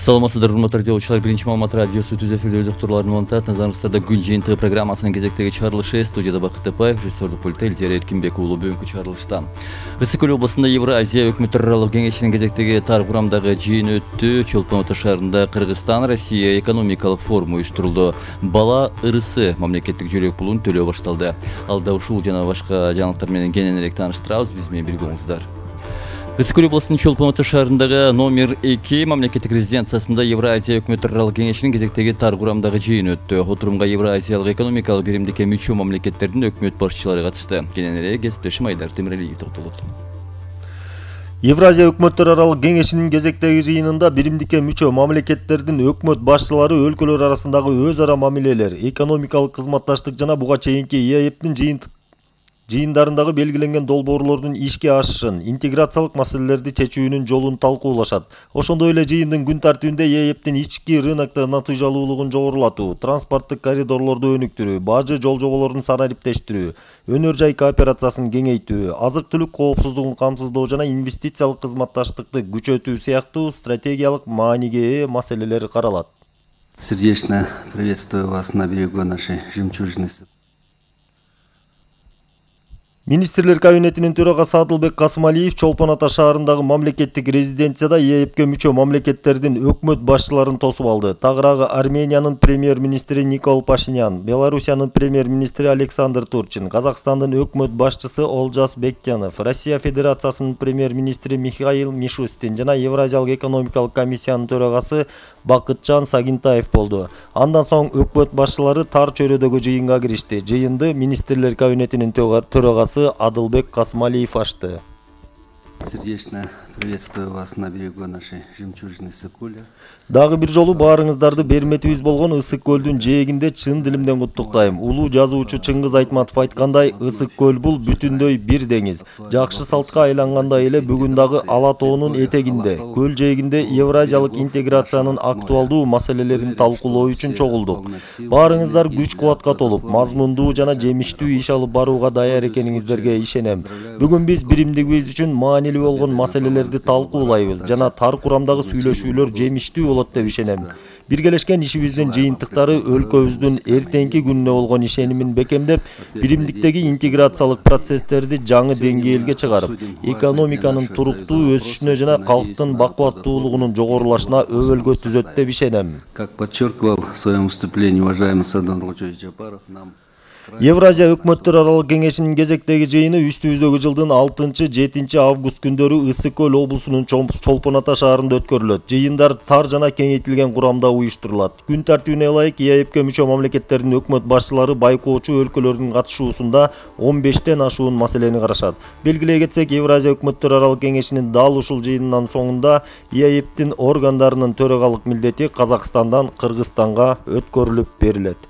Саламатсыздар, урматтуу радиочулар. Биринчи маалымат радиосу түз эфирде доктурлардын улантат. Назарыңыздарда күн жыйынтыгы программасынын кезектеги чыгарылышы. Студияда Бакыт Тапаев, режиссердук пультта Элдер Эркинбек уулу. Бүгүнкү чыгарылышта Ысык көл областында Евразия өкмөттөр аралык кеңешинин кезектеги тар курамдагы жыйыны өттү. Чолпон Ата шаарында Кыргызстан Россия экономикалык форуму уюштурулду. Бала ырысы мамлекеттик жөлөк пулун төлөө башталды. Алда ушул жана башка жаңылыктар менен кененирээк тааныштырабыз. Биз менен бирге болуңуздар. Ысык көл областынын Чолпон Ата шаарындагы номер 2 мамлекеттик резиденциясында Евразия өкмөттөр аралык кеңешинин кезектеги тар курамдагы жыйын өттү. Отурумга Евразиялык экономикалык биримдикке мүчө мамлекеттердин өкмөт башчылары катышты. Кененирээк кесиптешим Айдар Темиралиев токтолот. Евразия өкмөттөр аралык кеңешинин кезектеги жыйынында биримдикке мүчө мамлекеттердин өкмөт башчылары өлкөлөр арасындагы өз ара мамилелер, экономикалык кызматташтык жана буга чейинки ИАЭПтин жыйындарындагы белгиленген долбоорлордун ишке ашышын, интеграциялык маселелерди чечүүнүн жолун талкуулашат. Ошондой эле жыйындын күн тартибинде ИАЭПтин ички рынокто натыйжалуулугун жогорулатуу, транспорттук коридорлорду өнүктүрүү, бажы жол жоболорун санариптештирүү, өнөр жай кооперациясын кеңейтүү, азык-түлүк коопсуздугун камсыздоо жана инвестициялык кызматташтыкты күчөтүү сыяктуу стратегиялык мааниге ээ маселелер каралат. Сердечно приветствую вас на берегу нашей жемчужины. Министрлер кабинетинин төрагасы Адылбек Касымалиев Чолпон Ата шаарындагы мамлекеттик резиденцияда ИАЭПке мүчө мамлекеттердин өкмөт башчыларын тосуп алды. Тагыраагы Армениянын премьер-министри Никол Пашинян, Белоруссиянын премьер-министри Александр Турчин, Казакстандын өкмөт башчысы Олжас Бектянов, Россия Федерациясынын премьер-министри Михаил Мишустин жана Евразиялык экономикалык комиссиянын төрагасы Бакытжан Сагинтаев болду. Андан соң өкмөт башчылары тар чөйрөдөгү жыйынга киришти. Жыйынды министрлер кабинетинин төрагасы Адылбек Касымалиев ашты. Сердечно приветствую вас на берегу нашей жемчужины Ысык-Көлү. Дагы бир жолу баарыңыздарды берметибиз болгон Ысык-Көлдүн жээгинде чын дилимден куттуктайм. Улуу жазуучу Чыңгыз Айтматов айткандай, Ысык-Көл бул бүтүндөй бир деңиз. Жакшы салтка айлангандай эле бүгүн дагы Ала тоонун этегинде, көл жээгинде евразиялык интеграциянын актуалдуу маселелерин талкуулоо үчүн чогулдук. Баарыңыздар күч-кубатка толуп, мазмундуу жана жемиштүү иш алып барууга даяр экениңиздерге ишенем. Бүгүн биз биримдигибиз үчүн маанилүү болгон маселелерди талкуулайбыз жана тар курамдагы сүйлөшүүлөр жемиштүү болот деп ишенем. Биргелешкен ишибиздин жыйынтыктары өлкөбүздүн эртеңки күнүнө болгон ишенимин бекемдеп, биримдиктеги интеграциялык процесстерди жаңы деңгээлге чыгарып, экономиканын туруктуу өсүшүнө жана калктын бакубаттуулугунун жогорулашына өбөлгө түзөт деп ишенем. Как подчеркивал в своем выступлении уважаемый Садан Нургулжевич Жапаров, нам Евразия өкмөттөр аралык кеңешинин кезектеги жыйыны үстүбүздөгү жылдын 6-7 август күндөрү Ысык көл облусунун Чолпон Ата шаарында өткөрүлөт. Жыйындар тар жана кеңейтилген курамда уюштурулат. Күн тартибине ылайык ИАЭПке мүчө мамлекеттердин өкмөт башчылары байкоочу өлкөлөрдүн катышуусунда 15тен ашуун маселени карашат. Белгилей кетсек, Евразия өкмөттөр аралык кеңешинин дал ушул жыйынынан соңунда ИАЭПтин органдарынын төрагалык милдети Казакстандан Кыргызстанга өткөрүлүп берилет.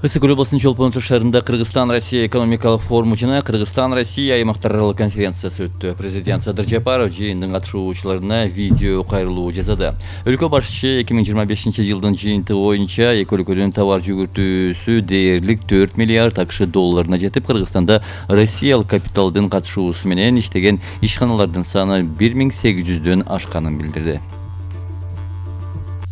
Ысык көл областынын Чолпон Ата шаарында Кыргызстан Россия экономикалык форуму жана Кыргызстан Россия аймактар аралык конференциясы өттү. Президент Садыр Жапаров жыйындын катышуучуларына видео кайрылуу жасады. Өлкө башчысы 2025 жылдын жыйынтыгы боюнча эки өлкөнүн товар жүгүртүүсү дээрлик 4 миллиард АКШ долларына жетип, Кыргызстанда Россиялык капиталдын катышуусу менен иштеген ишканалардын саны 1800дөн ашканын билдирди.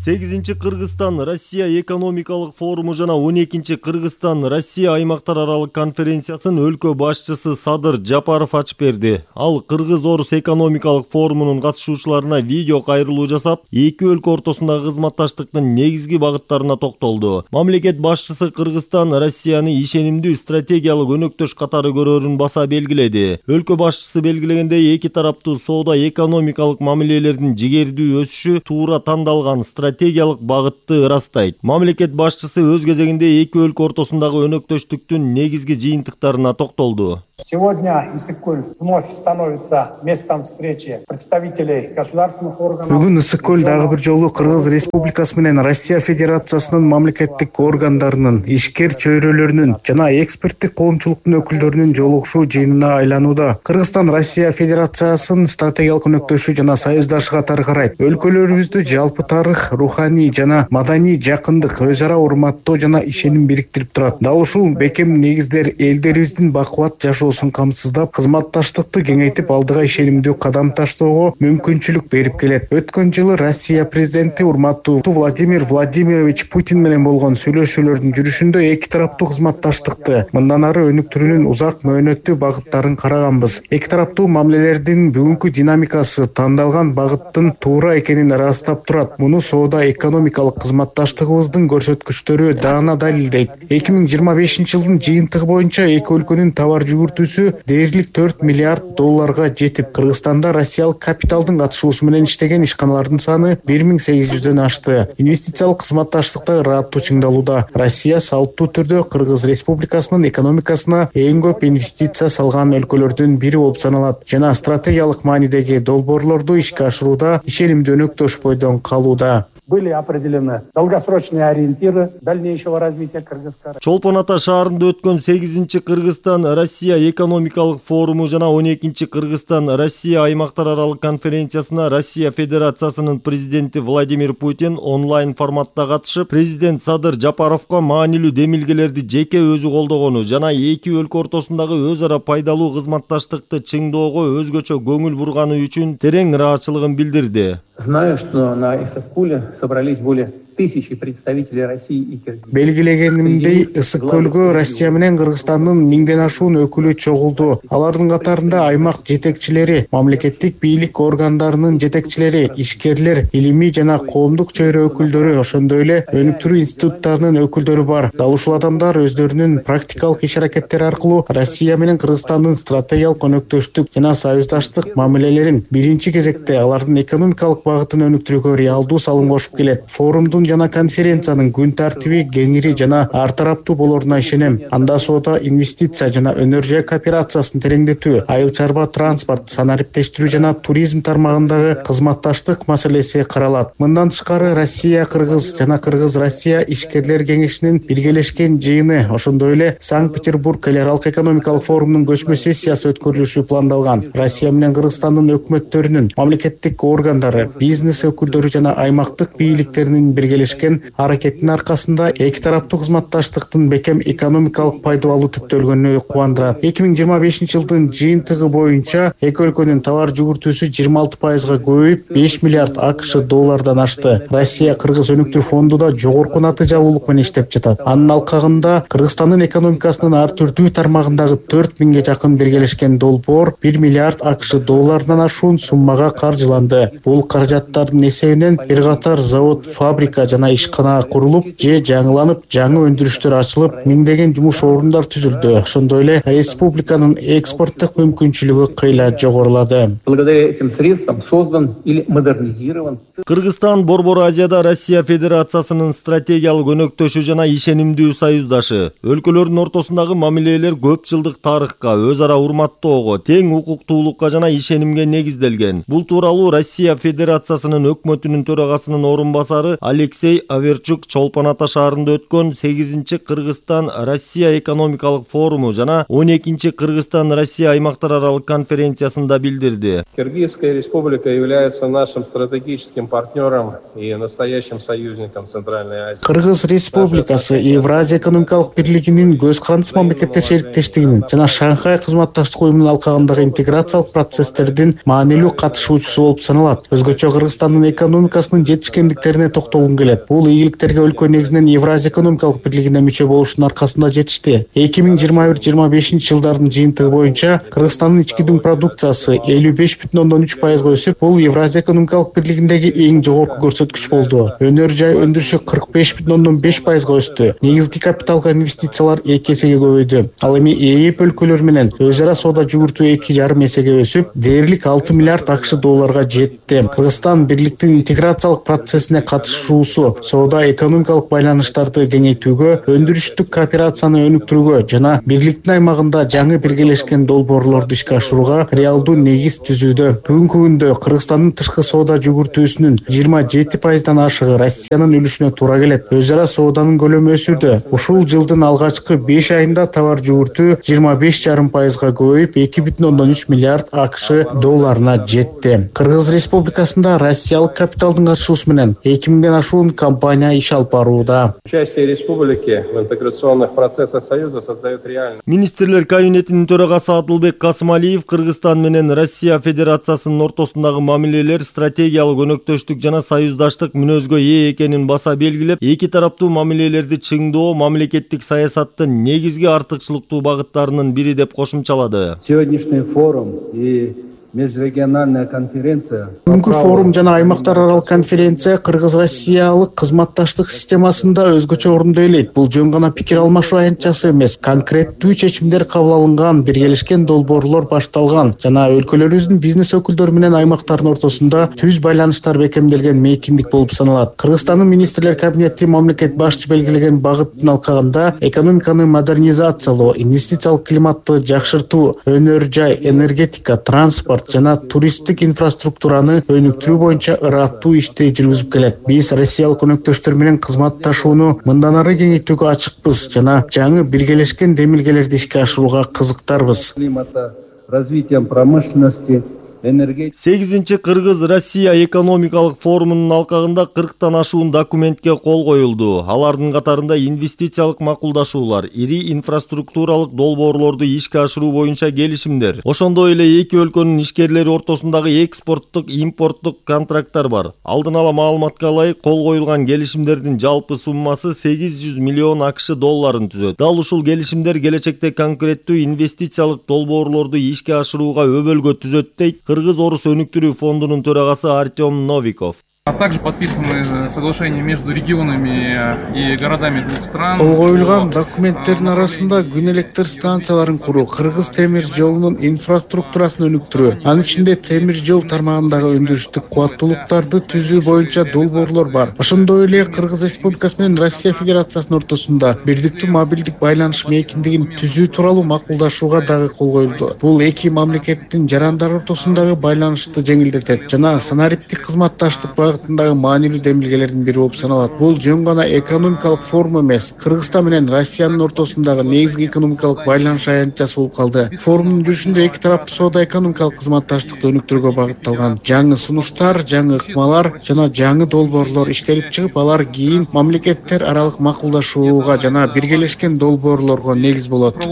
8-чи Кыргызстан-Россия экономикалык форуму жана 12-чи Кыргызстан-Россия аймактар аралык конференциясын өлкө башчысы Садыр Жапаров ачып берди. Ал Кыргыз-Орус экономикалык форумунун катышуучуларына видео кайрылуу жасап, эки өлкө ортосундагы кызматташтыктын негизги багыттарына токтолду. Мамлекет башчысы Кыргызстан Россияны ишенимдүү стратегиялык өнөктөш катары көрөрүн баса белгиледи. Өлкө башчысы белгилегендей, эки тараптуу соода экономикалык мамилелердин жигердүү өсүшү туура тандалган стратегиялык багытты ырастайт. Мамлекет башчысы өз кезегинде эки өлкө ортосундагы өнөктөштүктүн негизги жыйынтыктарына токтолду. Сегодня Ысык-Көл вновь становится местом встречи представителей государственных органов. Бүгүн Ысык-Көл дагы бир жолу Кыргыз Республикасы менен Россия Федерациясынын мамлекеттик органдарынын, ишкер чөйрөлөрүнүн жана эксперттик коомчулуктун өкүлдөрүнүн жолугушуу жыйынына айланууда. Кыргызстан Россия Федерациясын стратегиялык өнөктөшү жана союздашы катары карайт. Өлкөлөрүбүздү жалпы тарых, руханий жана маданий жакындык, өз ара урматтоо жана ишеним бириктирип турат. Дал ушул бекем негиздер элдерибиздин бакубат жашоосун катышуусун камсыздап, кызматташтыкты кеңейтип, алдыга ишенимдүү кадам таштоого мүмкүнчүлүк берип келет. Өткөн жылы Россия президенти урматтуу Владимир Владимирович Путин менен болгон сүйлөшүүлөрдүн жүрүшүндө эки тараптуу кызматташтыкты мындан ары өнүктүрүүнүн узак мөөнөттүү багыттарын караганбыз. Эки тараптуу мамилелердин бүгүнкү динамикасы тандалган багыттын туура экенин ырастап турат. Муну соода-экономикалык кызматташтыгыбыздын көрсөткүчтөрү даана далилдейт. 2025 жылдын жыйынтыгы боюнча эки өлкөнүн товар жүгүртүүсү дээрлик 4 миллиард долларга жетип, Кыргызстанда россиялык капиталдын катышуусу менен иштеген ишканалардын саны 1800дөн ашты. Инвестициялык кызматташтыкта ыраттуу чыңдалууда. Россия салттуу түрдө Кыргыз Республикасынын экономикасына эң көп инвестиция салган өлкөлөрдүн бири болуп саналат жана стратегиялык маанидеги долбоорлорду ишке ашырууда ишенимдүү өнөктөш бойдон калууда. Были определены долгосрочные ориентиры дальнейшего развития Кыргызстана. Чолпон Ата шаарында өткөн 8-чи Кыргызстан-Россия экономикалык форуму жана 12-чи Кыргызстан-Россия аймактар аралык конференциясына Россия Федерациясынын президенти Владимир Путин онлайн форматта катышып, президент Садыр Жапаровго маанилүү демилгелерди жеке өзү колдогону жана эки өлкө ортосундагы өз ара пайдалуу кызматташтыкты чыңдоого өзгөчө көңүл бурганы үчүн терең ыраазычылыгын билдирди. Знаю, что на Ысык-Куле собрались более 1000 представителей России и Кыргызстана. Белгилегенимдей, Ысык-Көлгө Россия менен Кыргызстандын 1000ден ашуун өкүлү чогулду. Алардын катарында аймак жетекчилери, мамлекеттик бийлик органдарынын жетекчилери, ишкерлер, илимий жана коомдук чөйрө өкүлдөрү, ошондой эле өнүктүрүү институттарынын өкүлдөрү бар. Дал ушул адамдар өздөрүнүн практикалык иш-аракеттери аркылуу Россия менен Кыргызстандын стратегиялык өнөктөштүк жана союздаштык мамилелерин биринчи кезекте алардын экономикалык багытын өнүктүрүүгө реалдуу салым кошуп келет. Форумдун жана конференциянын күн тартиби кеңири жана ар тараптуу болоруна ишенем. Анда соода, инвестиция жана өнөр жай кооперациясын тереңдетүү, айыл чарба транспорт, санариптештирүү жана туризм тармагындагы кызматташтык маселеси каралат. Мындан тышкары Россия Кыргыз жана Кыргыз Россия ишкерлер кеңешинин биргелешкен жыйыны, ошондой эле Санкт-Петербург эл аралык экономикалык форумунун көчмө сессиясы өткөрүлүшү пландалган. Россия менен Кыргызстандын өкмөттөрүнүн, мамлекеттик органдары, бизнес өкүлдөрү жана аймактык бийликтеринин биргелешкен аракеттин аркасында эки тараптуу кызматташтыктын бекем экономикалык пайда алуу түптөлгөнү кубандырат. 2025 жылдын жыйынтыгы боюнча эки өлкөнүн товар жүгүртүүсү 26%га көбөйүп, 5 миллиард АКШ доллардан ашты. Россия Кыргыз өнүктүрүү фонду да жогорку натыйжалуулук менен иштеп жатат. Анын алкагында Кыргызстандын экономикасынын ар түрдүү тармагындагы 4000ге жакын биргелешкен долбоор 1 миллиард АКШ доллардан ашуун суммага каржыланды. Бул каражаттардын эсебинен бир катар завод, фабрика жана ишкана курулуп же жаңыланып, жаңы өндүрүштөр ачылып, миңдеген жумуш орундар түзүлдү. Ошондой эле республиканын экспорттук мүмкүнчүлүгү кыйла жогорулады. Благодаря этим средствам создан или модернизирован. Кыргызстан Борбор Азияда Россия Федерациясынын стратегиялык өнөктөшү жана ишенимдүү союздашы. Өлкөлөрдүн ортосундагы мамилелер көп жылдык тарыхка, өз ара урматтоого, тең укуктуулукка жана ишенимге негизделген. Бул тууралуу Россия Федерациясынын өкмөтүнүн төрагасынын орунбасары Алексей Аверчук Чолпон Ата шаарында өткөн 8-чи Кыргызстан-Россия экономикалык форуму жана 12-чи Кыргызстан-Россия аймактар аралык конференциясында билдирди. Кыргызская республика является нашим стратегическим партнером и настоящим союзником Центральной Азии. Кыргыз Республикасы Евразия экономикалык бирлигинин көз карандысы мамлекеттер шериктештигинин жана Шанхай кызматташтык уюмунун алкагындагы интеграциялык процесстердин маанилүү катышуучусу болуп саналат. Өзгөчө Кыргызстандын экономикасынын жетишкендиктерине токтолгум келет. Бул ийгиликтерге өлкө негизинен Евразия экономикалык бирлигине мүчө болушунун аркасында жетишти. 2021-25 жылдардын жыйынтыгы боюнча Кыргызстандын ички дүң продукциясы 55,3%га өсүп, бул Евразия экономикалык бирлигиндеги эң жогорку көрсөткүч болду. Өнөр жай өндүрүшү 45,5%га өстү. Негизги капиталга инвестициялар 2 эсеге көбөйдү. Ал эми ЭЭП өлкөлөр менен өз ара соода жүгүртүү 2,5 эсеге өсүп, дээрлик 6 миллиард АКШ долларга жетти. Кыргызстан бирликтин интеграциялык процессине катышуусу соода экономикалык байланыштарды кеңейтүүгө, өндүрүштүк кооперацияны өнүктүрүүгө жана бирликтин аймагында жаңы биргелешкен долбоорлорду ишке ашырууга реалдуу негиз түзүүдө. Бүгүнкү күндө Кыргызстандын тышкы соода жүгүртүүсүнүн 27%дан ашыгы Россиянын үлүшүнө туура келет. Өз ара сооданын көлөмү өсүүдө. Ушул жылдын алгачкы 5 айында товар жүгүртүү 25,5%га көбөйүп, 2,3 миллиард АКШ долларына жетти. Кыргыз Республикасында россиялык капиталдын катышуусу менен 2000ден ашуун жашуун компания иш алып барууда. Участие республики в интеграционных процессах Союза создает реальный. Министрлер кабинетинин төрагасы Адылбек Касымалиев Кыргызстан менен Россия Федерациясынын ортосундагы мамилелер стратегиялык өнөктөштүк жана союздаштык мүнөзгө ээ экенин баса белгилеп, эки тараптуу мамилелерди чыңдоо мамлекеттик саясаттын негизги артыкчылыктуу багыттарынын бири деп кошумчалады. Сегодняшний форум и межрегиональная конференция. Бүгүнкү форум жана аймактар аралык конференция Кыргыз-Россиялык кызматташтык системасында өзгөчө орунду ээлейт. Бул жөн гана пикир алмашуу аянтчасы эмес, конкреттүү чечимдер кабыл алынган, биргелешкен долбоорлор башталган жана өлкөлөрүбүздүн бизнес өкүлдөрү менен аймактардын ортосунда түз байланыштар бекемделген мейкиндик болуп саналат. Кыргызстандын министрлер кабинети мамлекет башчы белгилеген багыттын алкагында экономиканы модернизациялоо, инвестициялык климатты жакшыртуу, өнөр жай, энергетика, транспорт жана туристтик инфраструктураны өнүктүрүү боюнча ыраттуу ишти жүргүзүп келет. Биз россиялык өнөктөштөр менен кызматташууну мындан ары кеңейтүүгө ачыкпыз жана жаңы биргелешкен демилгелерди ишке ашырууга кызыктарбыз. Климата, развитием промышленности, 8-чи Кыргыз-Россия экономикалык форумунун алкагында 40тан ашуун документке кол коюлду. Алардын катарында инвестициялык макулдашуулар, ири инфраструктуралык долбоорлорду ишке ашыруу боюнча келишимдер. Ошондой эле эки өлкөнүн ишкерлери ортосундагы экспорттук, импорттук контракттар бар. Алдын ала маалыматка ылайык кол коюлган келишимдердин жалпы суммасы 800 миллион АКШ долларын түзөт. Дал ушул келишимдер келечекте конкреттүү инвестициялык долбоорлорду ишке ашырууга өбөлгө түзөт дейт Кыргыз-Орус өнүктүрүү фондунун төрагасы Артем Новиков. А также подписаны соглашения между регионами и городами двух стран. Кол коюлган документтердин арасында күн электр станцияларын куруу, Кыргыз темир жолунун инфраструктурасын өнүктүрүү, анын ичинде темир жол тармагындагы өндүрүштүк кубаттуулуктарды түзүү боюнча долбоорлор бар. Ошондой эле Кыргыз Республикасы менен Россия Федерациясынын ортосунда бирдиктүү мобилдик байланыш мейкиндигин түзүү тууралуу макулдашууга дагы кол коюлду. Бул эки мамлекеттин жарандары ортосундагы байланышты жеңилдетет жана санариптик кызматташтык багытындагы маанилүү демилгелердин бири болуп саналат. Бул жөн гана экономикалык форум эмес, Кыргызстан менен Россиянын ортосундагы негизги экономикалык байланыш аянтчасы болуп калды. Форумдун жүрүшүндө эки тараптуу соода-экономикалык кызматташтыкты өнүктүрүүгө багытталган жаңы сунуштар, жаңы ыкмалар жана жаңы долбоорлор иштелип чыгып, алар кийин мамлекеттер аралык макулдашууга жана биргелешкен долбоорлорго негиз болот.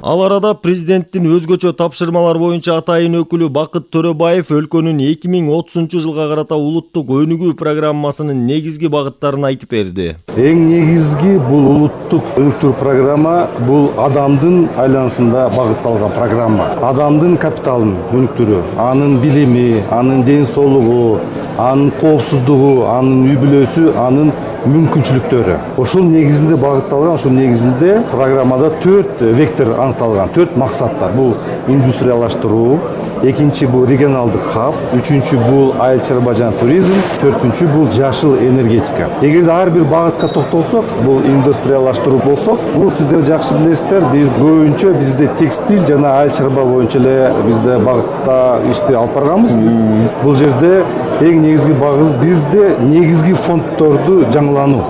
Ал арада президенттин өзгөчө тапшырмалар боюнча атайын өкүлү Бакыт Төрөбаев өлкөнүн 2030 жылга карата улуттук өнүгүү программасынын негизги багыттарын айтып берди. Эң негизги бул улуттук өнүктүрүү программа бул адамдын айланасында багытталган программа. Адамдын капиталын өнүктүрүү, анын билими, анын ден соолугу, анын коопсуздугу, анын үй бүлөсү, анын мүмкүнчүлүктөрү. Ошол негизинде багытталган, ошол негизинде программада 4 вектор аныкталган, 4 максаттар. Бул индустриялаштыруу, экинчи бул регионалдык хаб, үчүнчү бул айыл чарба жана туризм, төртүнчү бул жашыл энергетика. Эгерде ар бир багытка токтолсок, бул индустриялаштыруу болсок, бул сиздер жакшы билесиздер, биз көбүнчө бизде текстиль жана айыл чарба боюнча эле бизде багытта ишти алып барганбыз. Бул жерде эң негизги багыз бизде негизги фонддорду жаңылануу.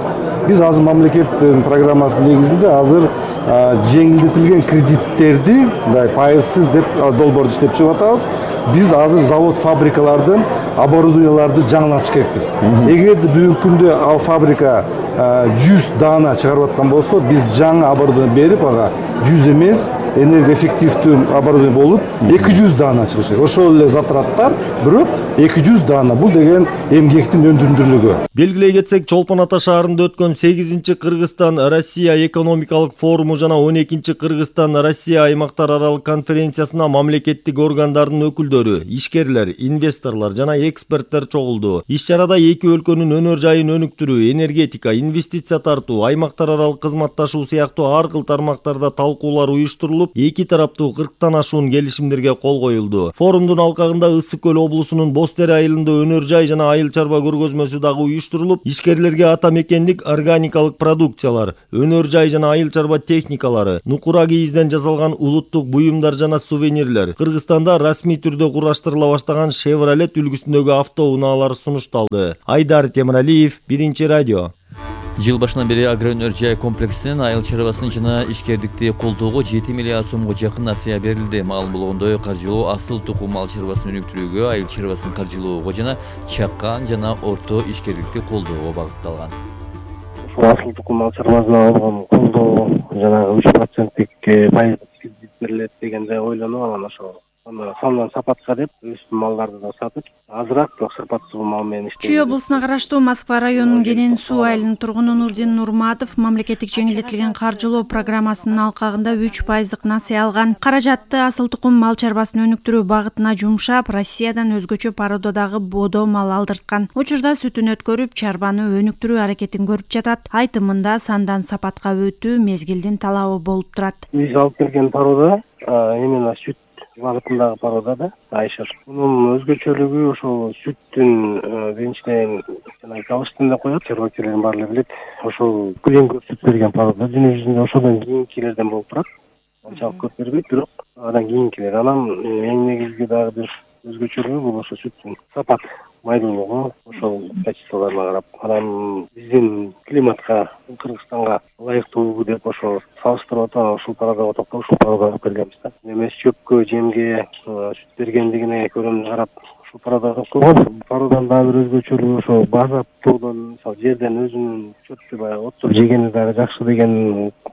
Биз азыр мамлекеттин программасынын негизинде азыр жеңилдетилген кредиттерди пайызсыз деп долбоорду иштеп чыгып атабыз. Биз азыр завод фабрикалардын оборудованияларды жаңылап чыгабыз. Эгерде бүгүнкү күндө ал фабрика 100 даана чыгарып аткан болсо, биз жаңы оборудование берип ага 100 эмес энергоэффективдүү оборудование болуп 200 даана чыгышы. Ошол эле затраттар, бирок 200 даана. Бул деген эмгектин өндүрүмдүүлүгү. Белгилей кетсек, Чолпон Ата шаарында өткөн 8-чи Кыргызстан-Россия экономикалык форуму жана 12-чи Кыргызстан-Россия аймактар аралык конференциясына мамлекеттик органдардын өкүлдөрү, ишкерлер, инвесторлор жана эксперттер чогулду. Иш-чарада эки өлкөнүн өнөр жайын өнүктүрүү, энергетика, инвестиция тартуу, аймактар аралык кызматташуу сыяктуу ар кыл тармактарда талкуулар уюштурулуп, эки тараптуу 40тан ашуун келишимдерге кол коюлду. Форумдун алкагында Ысык көл облусунун Боз Тере айылында өнөр жай жана айыл чарба көргөзмөсү дагы уюштурулуп, ишкерлерге ата мекендик органикалык продукциялар, өнөр жай жана айыл чарба техникалары, нукура кийизден жасалган улуттук буюмдар жана сувенирлер, Кыргызстанда расмий түрдө кураштырыла баштаган Chevrolet үлгүсүндөгү автоунаалар сунушталды. Айдар Темиралиев, Биринчи радио. Жыл башынан бери агроөнөр жай комплексинин айыл чарбасын жана ишкердикти колдоого 7 миллиард сомго жакын насыя берилди. Маалым болгондой, каржылоо асыл тукум мал чарбасын өнүктүрүүгө, айыл чарбасын каржылоого жана чакан жана орто ишкердикти колдоого багытталган. Асыл тукум мал чарбасына алган колдоо жанагы 3%-тик пайыздык кредит берилет дегенде ойлонуп алам ошол. Сонун сапатка деп өз малдарды да сатып, азыраак бирок сапатсыз мал менен иштейт. Чүй облусуна караштуу Москва районунун Кенен суу айылынын тургуну Нурдин Нурматов мамлекеттик жеңилдетилген каржылоо программасынын алкагында 3% насыя алган. Каражатты асыл тукум мал чарбасын өнүктүрүү багытына жумшап, Россиядан өзгөчө породадагы бодо мал алдырткан. Учурда сүтүн өткөрүп, чарбаны өнүктүрүү аракетин көрүп жатат. Айтымында сандан сапатка өтүү мезгилдин талабы болуп турат. Биз алып келген порода именно сүт багытындагы порода да Айшыр. Мунун өзгөчөлүгү ошол сүттүн биринчиден жана калыштын да коет, чарбачылардын баары билет. Ошол күлөн көп сүт берген порода дүйнө жүзүндө ошодон кийинкилерден болуп турат. Анчалык көп бербейт, бирок андан кийинкилер. Анан эң негизги дагы бир өзгөчөлүгү бул ошо сүттүн сапат, майдуулугу, ошол качестволоруна карап. Анан биздин климатка, Кыргызстанга ылайыктуу деп ошо салыштырып атып, ушул пародага токтоп, ушул пародага келгенбиз да. Эмес чөпкө, жемге сүт бергендигине көрөм карап, ушул пародага койгон. Пароданын дагы бир өзгөчөлүгү ошо базаптоодон, мисалы жерден өзүнүн чөптү баягы оттуп жегени дагы жакшы деген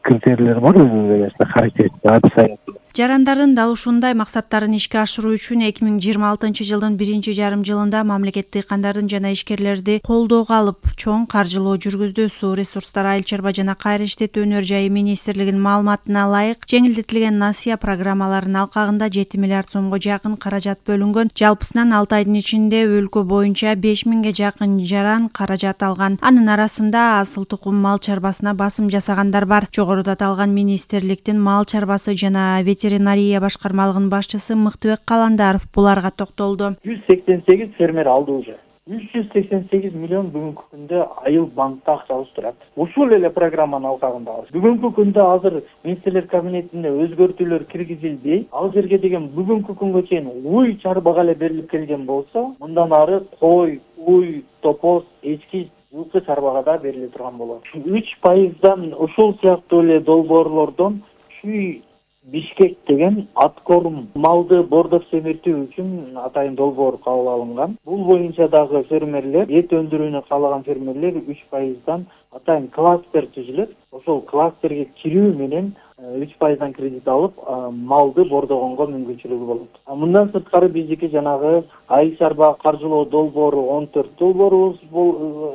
критерийлер бар өзүнүн эмесинде, характеристика описаниесинде. Жарандардын дал ушундай максаттарын ишке ашыруу үчүн 2026 жылдын 1-жарым жылында мамлекет дыйкандардын жана ишкерлерди колдоого алып, чоң каржылоо жүргүздү. Суу ресурстары, айыл чарба жана кайра иштетүү өнөр жайы министрлигинин маалыматына ылайык, жеңилдетилген насыя программаларынын алкагында 7 миллиард сомго жакын каражат бөлүнгөн. Жалпысынан 6 айдын ичинде өлкө боюнча 5000ге жакын жаран каражат алган. Анын арасында асыл тукум мал чарбасына басым жасагандар бар. Жогоруда аталган министрликтин мал чарбасы жана ветеринария башкармалыгынын башчысы Мыктыбек Каландаров буларга токтолду. 188 фермер алды уже. 388 миллион бүгүнкү күндө айыл банкта акчабыз турат. Ушул эле программанын алкагында бүгүнкү күндө азыр министрлер кабинетине өзгөртүүлөр киргизилди. Ал жерге деген бүгүнкү күнгө чейин уй чарбага эле берилип келген болсо, мындан ары кой, уй, топоз, эчки, жылкы чарбага да бериле турган болот. 3%дан ушул сыяктуу эле долбоорлордон Чүй Бишкек деген аткорум малды бордоп семиртүү үчүн атайын долбоор кабыл алынган. Бул боюнча дагы фермерлер, эт өндүрүүнү каалаган фермерлер 3%дан атайын кластер түзүлөт. Ошол кластерге кирүү менен 3%дан кредит алып, малды бордогонго мүмкүнчүлүгү болот. Мындан сырткары биздики жанагы айыл чарба каржылоо долбоору 14 долбоорубуз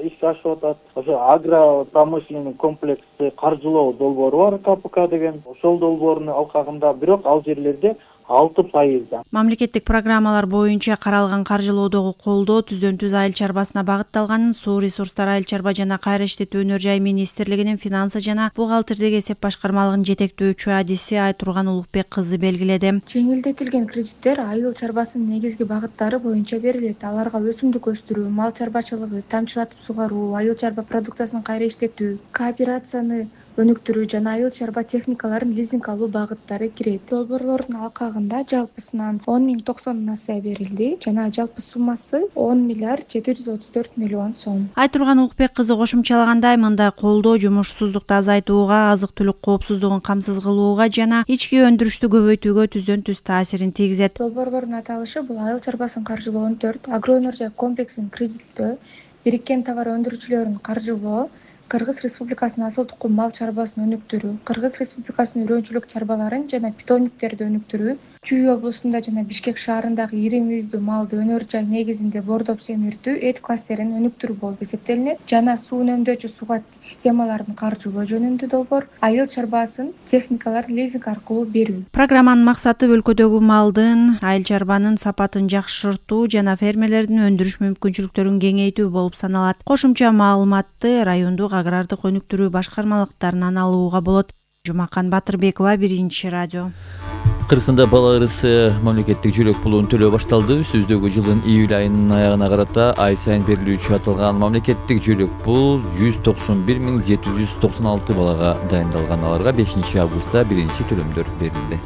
ишке ашып атат. Ошо агро промышленный комплексы каржылоо долбоору бар, КПК деген. Ошол долбоордун алкагында бирок ал жерлерде 6%. Мамлекеттик программалар боюнча каралган каржылоодогу колдоо түздөн-түз айыл чарбасына багытталганын Суу ресурстары, айыл чарба жана кайра иштетүү өнөр жай министрлигинин финансы жана бухгалтердик эсеп башкармалыгынын жетектөөчү адиси Айтурган Улукбек кызы белгиледи. Жеңилдетилген кредиттер айыл чарбасынын негизги багыттары боюнча берилет. Аларга өсүмдүк өстүрүү, мал чарбачылыгы, тамчылатып сугаруу, айыл чарба продукциясын кайра иштетүү, кооперацияны өнүктүрүү жана айыл чарба техникаларын лизинг алуу багыттары кирет. Долбоорлордун алкагында жалпысынан 10.090 насыя берилди жана жалпы суммасы 10 миллиард 734 миллион сом. Айтурган Улукбек кызы кошумчалагандай, мындай колдоо жумушсуздукту азайтууга, азык-түлүк коопсуздугун камсыз кылууга жана ички өндүрүштү көбөйтүүгө түздөн-түз таасирин тийгизет. Долбоорлордун аталышы бул айыл чарбасын каржылоо 14, агроөнөр жай комплексин кредиттөө, бириккен товар өндүрүүчүлөрүн каржылоо, Кыргыз Республикасынын асыл тукум мал чарбасын өнүктүрүү, Кыргыз Республикасынын үрөнчүлүк чарбаларын жана питомниктерди өнүктүрүү, Чүй облусунда жана Бишкек шаарындагы ири мүйүздүү малды өнөр жай негизинде бордоп семиртүү, эт кластерин өнүктүрүү болуп эсептелинет жана суу үнөмдөөчү суга системаларын каржылоо жөнүндө долбоор айыл чарбасын техникаларын лизинг аркылуу берүү. Программанын максаты өлкөдөгү малдын, айыл чарбанын сапатын жакшыртуу жана фермерлердин өндүрүш мүмкүнчүлүктөрүн кеңейтүү болуп саналат. Кошумча маалыматты райондук агрардык өнүктүрүү башкармалыктарынан алууга болот. Жумакан Батырбекова, 1-радио. Кыргызстанда бала ырысы мамлекеттик жөлөк пулун төлөө башталды. Сөздөгү жылдын июль айынын аягына карата ай сайын берилүүчү аталган мамлекеттик жөлөк пул 191.796 балага дайындалган. Аларга 5 августта биринчи төлөмдөр берилди.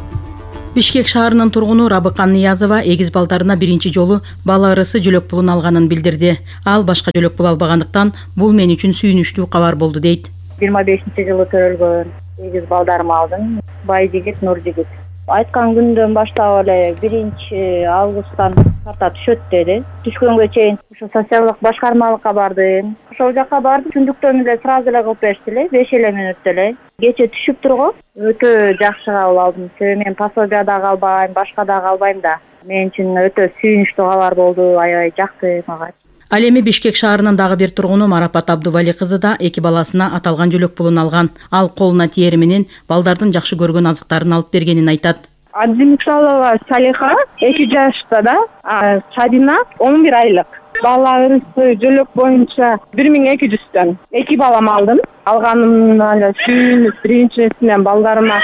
Бишкек шаарынын тургуну Рабыкан Ниязова эгиз балдарына биринчи жолу бала ырысы жөлөк пулун алганын билдирди. Ал башка жөлөк пул албагандыктан бул мен үчүн сүйүнүчтүү кабар болду дейт. 25-жылы төрөлгөн эгиз балдарымы алдым. Бай жигит, Нур жигит. Айткан күндөн баштап эле 1-августтан карта түшөт деди. Түшкөнгө чейин ошо социалдык башкармалыкка бардым. Ошол жака бардым. Түндүктөн эле сразу эле кылып беришти эле, 5 мүнөттө эле. Кече түшүп турган өтө жакшы кабыл алдым. Себеби мен пособия дагы албайм, башка дагы албайм да. Мен үчүн өтө сүйүнүчтүү кабар болду, аябай жакты мага. Ал эми Бишкек шаарынын дагы бир тургуну Марапат Абдували кызы да 2 баласына аталган жөлөк пулун алган. Ал колуна тиери менен балдардын жакшы көргөн азыктарын алып бергенин айтат. Абдимиксалова Салиха 2 жашта да, Сабина 11 айлык. Бала ырысы жөлөк боюнча 1200төн 2 балам алдым. Алганымдан эле сүйүнүп, биринчисинен балдарыма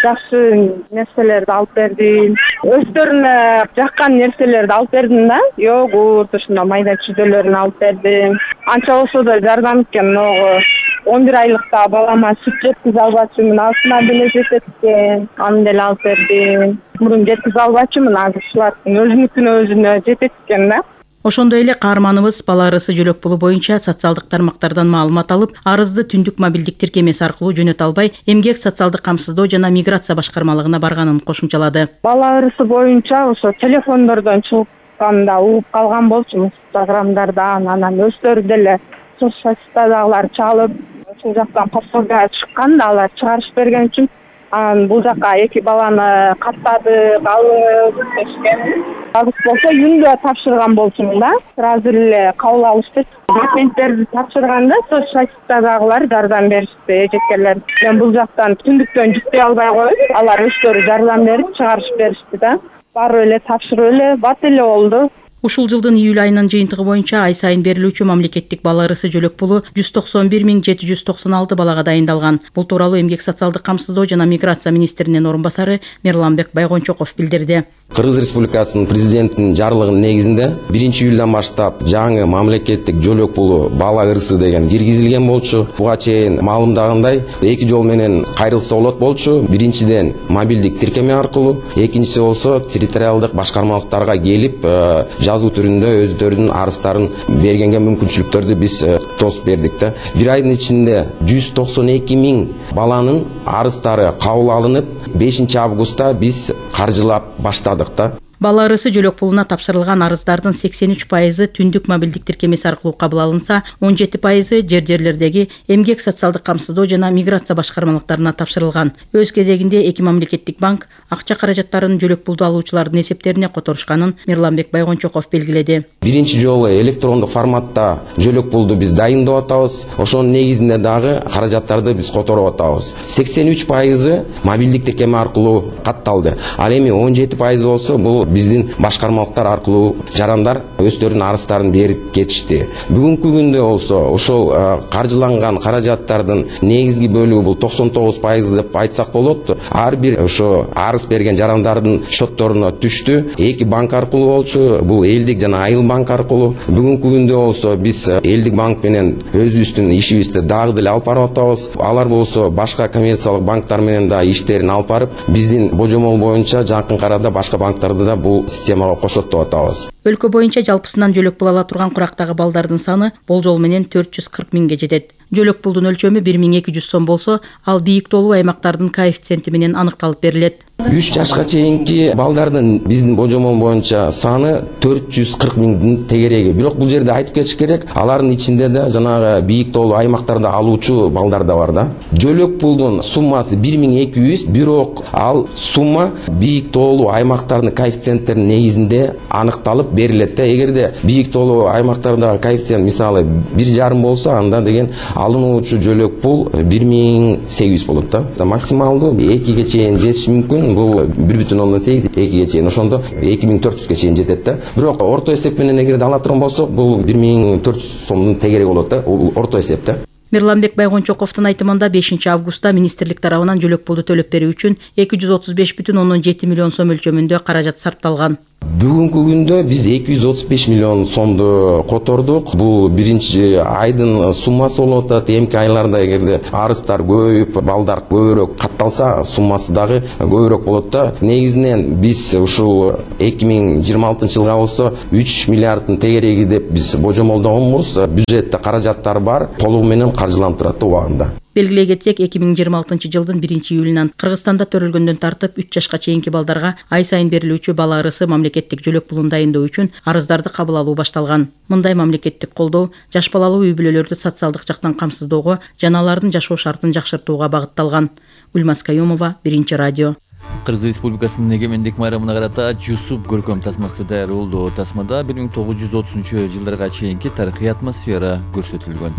жакшы нерселерди алып бердим. Өздөрүнө жаккан нерселерди алып бердим да. Йогурт, ушундай майда чүйдөлөрүн алып бердим. Анча болсо да жардам эткен. 11 айлыкта балама сүт жеткизе албачумун, алтына деле жетет экен. Аны деле алып бердим. Мурун жеткизе албачумун, азыр ушулардын өзүнө жетет экен да. Ошондой эле каарманыбыз бала ырысы жөлөк пулу боюнча социалдык тармактардан маалымат алып, арызды түндүк мобилдик тиркемеси аркылуу жөнөтө албай, Эмгек социалдык камсыздоо жана миграция башкармалыгына барганын кошумчалады. Бала ырысы боюнча ошо телефондордон чыкканда угуп калган болчумун, Инстаграмдардан, анан өздөрү деле социаль сетьтедагылар чалып, ошол жактан пособия чыккан да, алар чыгарышып берген үчүн бул жака 2 баланы каттадык, алып кетишкен. Алып болсо үйүндө тапшырган болчумун да. Сразу эле кабыл алышты. Документтерди тапшырганда социаль сетьтедагылар жардам беришти, эжекелер. Мен бул жактан түндүктөн жүктөй албай коюп, алар өздөрү жардам берип чыгарышып беришти да. Барып эле тапшырып эле бат эле болду. Ушул жылдын июль айынын жыйынтыгы боюнча ай сайын берилүүчү мамлекеттик бала ырысы жөлөк пулу 191.796 балага дайындалган. Бул тууралуу Эмгек социалдык камсыздоо жана миграция министринин орун басары Мирланбек Байгончоков билдирди. Кыргыз Республикасынын президентинин жарлыгынын негизинде 1-июлдан баштап жаңы мамлекеттик жөлөк пулу бала ырысы деген киргизилген болчу. Буга чейин маалымдагандай 2 жол менен кайрылса болот болчу. Биринчиден мобилдик тиркеме аркылуу, экинчиси болсо территориалдык башкармалыктарга келип жазуу түрүндө өздөрүнүн арыздарын бергенге мүмкүнчүлүктөрдү биз тосуп бердик да. Бир айдын ичинде 192 000 баланын арыздары кабыл алынып, 5 августта биз каржылап баштадык да. Бала ырысы жөлөк пулуна тапшырылган арыздардын 83% түндүк мобилдик тиркемеси аркылуу кабыл алынса, 17% жерлердеги Эмгек социалдык камсыздоо жана миграция башкармалыктарына тапшырылган. Өз кезегинде 2 мамлекеттик банк акча каражаттарын жөлөк пулду алуучулардын эсептерине которушканын Мирланбек Байгончоков белгиледи. Биринчи жолу электрондук форматта жөлөк пулду биз дайындап атабыз. Ошонун негизинде дагы каражаттарды биз которуп атабыз. 83% мобилдик тиркеме аркылуу катталды. Ал эми 17% болсо бул биздин башкармалыктар аркылуу жарандар өздөрүнүн арыздарын берип кетишти. Бүгүнкү күндө болсо ошол каржыланган каражаттардын негизги бөлүгү бул 99% деп айтсак болот. Ар бир ошо арыз берген жарандардын шотторуна түштү. 2 банк аркылуу болчу, бул Элдик жана Айыл банк аркылуу. Бүгүнкү күндө болсо биз Элдик банк менен өзүбүздүн ишибизди дагы деле алып барып атабыз. Алар болсо башка коммерциялык банктар менен да иштерин алып барып, биздин божомол боюнча жакын арада башка банктарды да бул системага кошот деп атабыз. Өлкө боюнча жалпысынан жөлөк пул ала турган курактагы балдардын саны болжол менен 440 000ге жетет. Жөлөк пулдун өлчөмү 1200 сом болсо, ал бийик толуу аймактардын коэффициенти менен аныкталып берилет. 3 жашка чейинки балдардын биздин божомол боюнча саны 440 000 тегереги. Бирок бул жерде айтып кетиш керек, алардын ичинде да жанагы бийик толуу аймактарда алуучу балдар да бар да. Жөлөк пулдун суммасы 1200, бирок ал сумма бийик толуу аймактардын коэффициенттеринин негизинде аныкталып берилет да. Эгерде бийик толуу аймактарда коэффициент мисалы 1,5 болсо, анда деген алынуучу жөлөк пул 1800 болот да. Максималдуу 2ге чейин жетиш мүмкүн. Бул 1,8 2ге чейин, ошондо 2400ге чейин жетет да. Бирок орто эсеп менен эгерде ала турган болсок, бул 1400 сомдун тегереги болот да. Орто эсеп да. Мирланбек Байгончоковдун айтымында 5 августта министрлик тарабынан жөлөк пулду төлөп берүү үчүн 235,7 миллион сом өлчөмүндө каражат сарпталган. Бүгүнкү күндө биз 235 миллион сомду котордук. Бул биринчи айдын суммасы болуп атат. Эмки айларда эгерде арыздар көбөйүп, балдар көбүрөөк катталса, суммасы дагы көбүрөөк болот да. Негизинен биз ушул 2026 жылга болсо 3 миллиарддын тегереги деп биз божомолдогонбуз. Бюджетте каражаттар бар, толугу менен каржыландырат убагында. Белгилей кетсек, 2026 жылдын 1-июлунан Кыргызстанда төрөлгөндөн тартып 3 жашка чейинки балдарга ай сайын берилүүчү бала ырысы мамлекеттик жөлөк пулун дайындоо үчүн арыздарды кабыл алуу башталган. Мындай мамлекеттик колдоо жаш балалуу үй бүлөлөрдү социалдык жактан камсыздоого жана алардын жашоо шартын жакшыртууга багытталган. Ульмас Каюмова, Биринчи радио. Кыргыз Республикасынын эгемендик майрамына карата Жусуп көркөм тасмасы даяр болду. Тасмада 1930-жылдарга чейинки тарыхый атмосфера көрсөтүлгөн.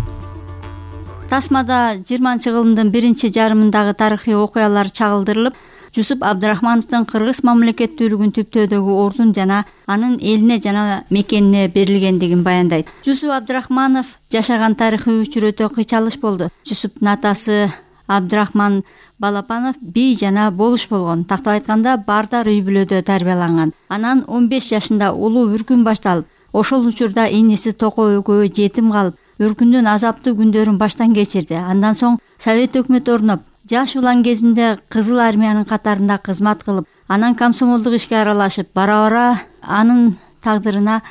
Тасмада 20-жылдын биринчи жарымындагы тарыхый окуялар чагылдырылып, Жусуп Абдрахмановдун кыргыз мамлекеттүүлүгүн түптөөдөгү ордун жана анын элине жана мекенине берилгендигин баяндайт. Жусуп Абдрахманов жашаган тарыхый учур өтө кыйчалыш болду. Жусуптун атасы Абдрахман Балапанов бий жана болуш болгон. Тактап айтканда, Бардар үй бүлөдө тарбияланган. Анан 15 жашында улуу үркүн башталып, ошол учурда иниси Токой экөө жетим калып, үркүндүн азаптуу күндөрүн баштан кечирди. Андан соң Совет өкмөтү орноп, жаш улан кезинде Кызыл армиянын катарында кызмат кылып, анан комсомолдук ишке аралашып, бара-бара анын тагдырына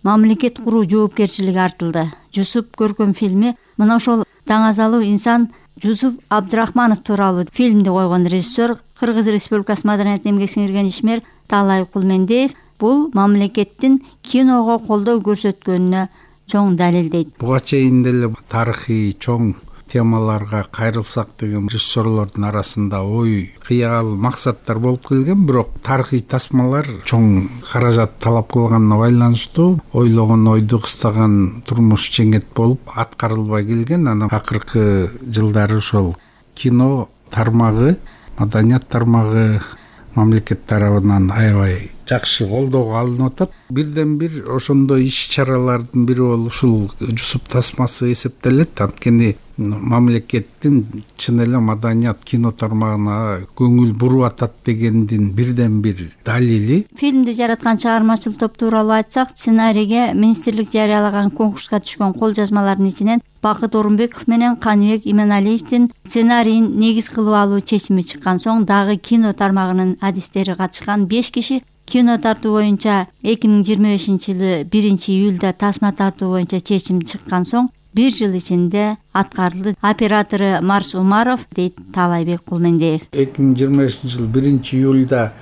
мамлекет куруу жоопкерчилиги артылды. Жусуп көркөм фильми мына ошол даңазалуу инсан Жусуп Абдрахманов тууралуу фильмди койгон режиссер, Кыргыз Республикасы Маданият эмгек сиңирген ишмер Таалай Кулмендеев бул мамлекеттин киного колдоо көрсөткөнүнө чоң далилдейт. Буга чейин деле тарыхый чоң темаларга кайрылсак деген режиссерлордун арасында ой, кыял, максаттар болуп келген, бирок тарыхый тасмалар чоң каражат талап кылганына байланыштуу ойлогон ойду кыстаган турмуш жеңет болуп аткарылбай келген. Анан акыркы жылдары ошол кино тармагы, маданият тармагы мамлекет тарабынан аябай жакшы колдоого алынып атат. Бирден бир ошондой иш-чаралардын бири болуп ушул Жусуп тасмасы эсептелет. Анткени мамлекеттин чын эле маданият кино тармагына көңүл буруп атат дегендин бирден бир далили. Фильмди жараткан чыгармачыл топ тууралуу айтсак, сценарийге министрлик жарыялаган конкурска түшкөн кол жазмалардын ичинен Бакыт Орунбеков менен Каныбек Именалиевдин сценарийин негиз кылып алуу чечими чыккан соң, дагы кино тармагынын адистери катышкан 5 киши кино тартуу боюнча 2025-жылы 1-июлда тасма тартуу боюнча чечим чыккан соң 1 жыл ичинде аткарылды. Оператору Марс Умаров, дейт Таалайбек Кулмендеев. 2025-жыл 1-июлда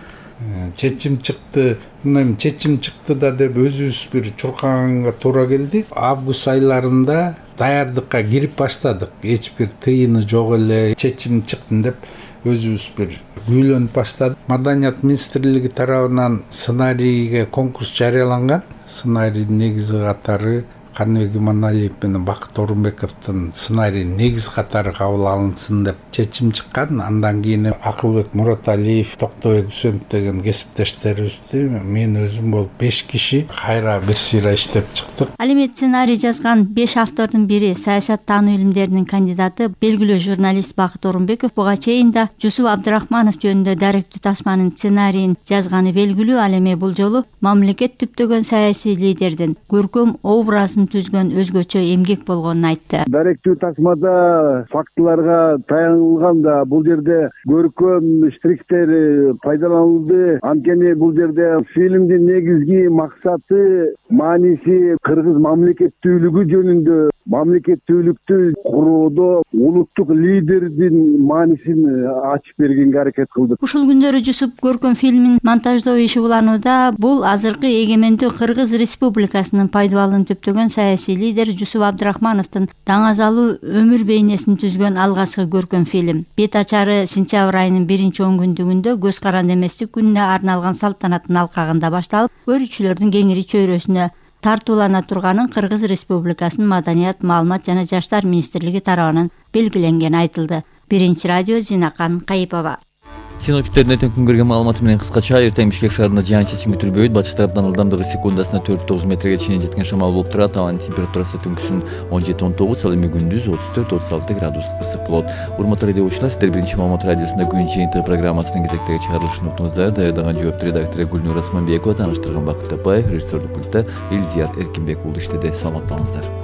чечим чыкты. Мындан чечим чыкты да деп өзүбүз бир чуркаганга туура келди. Август айларында даярдыкка кирип баштадык. Эч бир тыйыны жок эле. Чечим чыкты деп өзүбүз бир күйлөнүп баштадык. Маданият министрлиги тарабынан сценарийге конкурс жарыяланган. Сценарийдин негизи катары Каныбек Иманалиев менен Бакыт Орунбековдун сценарийин негиз катары кабыл алынсын деп чечим чыккан. Андан кийин Акылбек Мураталиев, Токтобек Үсөнов деген кесиптештерибизди мен өзүм болуп 5 киши кайра бир сыйра иштеп чыктык. Ал эми сценарий жазган 5 автордун бири саясат таануу илимдеринин кандидаты, белгилүү журналист Бакыт Орунбеков буга чейин да Жусуп Абдрахманов жөнүндө даректүү тасманын сценарийин жазганы белгилүү. Ал эми бул жолу мамлекет түптөгөн саясий лидердин көркөм образын түзгөн өзгөчө эмгек болгонун айтты. Даректүү тасмада фактыларга таянылганда бул жерде көркөм штрихтер пайдаланылды. Анткени бул жерде фильмдин негизги максаты, мааниси кыргыз мамлекеттүүлүгү жөнүндө, мамлекеттүүлүктү куроодо улуттук лидердин маанисин ачып бергенге аракет кылдык. Ушул күндөрү Жусуп көркөм фильмин монтаждоо иши уланууда. Бул азыркы эгемендүү Кыргыз Республикасынын пайдубалын түптөгөн саясий лидер Жусуп Абдрахмановдун даңазалуу өмүр бейнесин түзгөн алгачкы көркөм фильм. Бет ачары сентябрь айынын 1-10 көз каранды эместик күнүнө арналган салтанаттын алкагында башталып, көрүүчүлөрдүн кеңири чөйрөсүнө тартуулана турганын Кыргыз Республикасынын Маданият, маалымат жана жаштар министрлиги тарабынан белгиленгени айтылды. Биринчи радио, Зинакан Кайыпова. Синоптиктердин эртең күнгө берген маалыматы менен кыскача эртең Бишкек шаарында жаан-чачын күтүлбөйт. Батыш тараптан ылдамдыгы секундасына 4-9 метрге чейин жеткен шамал болуп турат. Абанын температурасы түнкүсүн 17-19, ал эми күндүз 34-36 градус ысык болот. Урматтуу радио окуучулар, сиздер биринчи маалымат радиосунда күн жыйынтыгы программасынын кезектеги чыгарылышын уктуңуздар. Даярдаган жооптуу редактору Гүлнур Асманбекова, тааныштырган Бакыт Тапаев, режиссердик пультта Элдияр Эркинбек уулу иштеди. Саламатта болуңуздар.